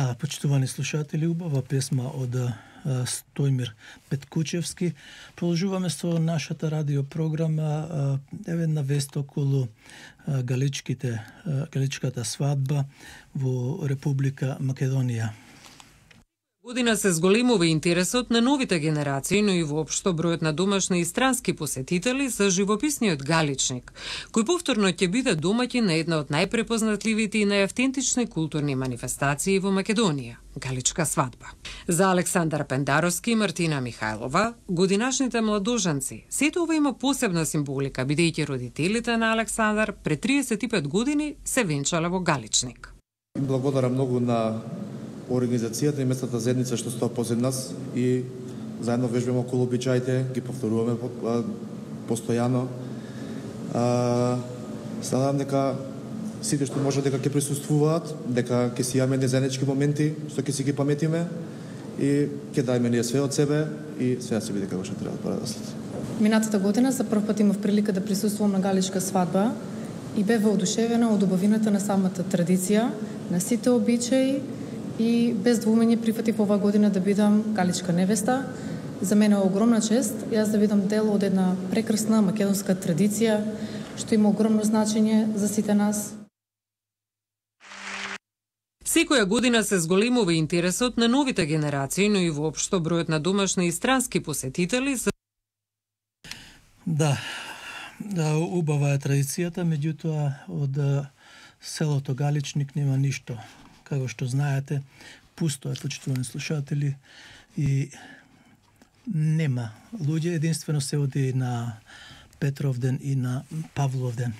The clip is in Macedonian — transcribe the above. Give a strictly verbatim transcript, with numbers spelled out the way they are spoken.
Да, почитувани слушатели, убава песма од Стојмир Петкучевски. Продолжуваме со нашата радиопрограма, еве на вест околу галичките, галичката свадба во Република Македонија. Година се зголемува интересот на новите генерации, но и воопшто бројот на домашни и странски посетители за живописниот галичник, кој повторно ќе биде домаќин на една од најпрепознатливите и најавтентични културни манифестации во Македонија – галичка свадба. За Александар Пендаровски и Мартина Михајлова, годинашните младоженци, сето ова има посебна символика, бидејќи родителите на Александар пред триесет и пет години се венчале во галичник. Им благодарам многу на организацијата и местната заедница што стои позад нас и заедно вежбаме околу обичаите, ги повторуваме постојано. Се надам дека сите што може дека ќе присуствуваат, дека ќе си имаме едни заеднички моменти што ќе си ги паметиме и ќе дајме ние све од себе и све да се биде како што треба да пораслед. Минатата година за прв пат имав прилика да присуствувам на галичка свадба и бев воодушевена од убавината на самата традиција, на сите обичаи и без двумење прифатив оваа година да бидам галичка невеста. За мене е огромна чест јас да бидам дел од една прекрасна македонска традиција што има огромно значење за сите нас. Секоја година се зголемува интересот на новите генерации, но и воопшто бројот на домашни и странски посетители. Да, да, убава е традицијата, меѓутоа од селото Галичник нема ништо. Како што знаете, пусто е, почитувани слушатели, и нема луѓе, единствено се оди на Петровден и на Павловден.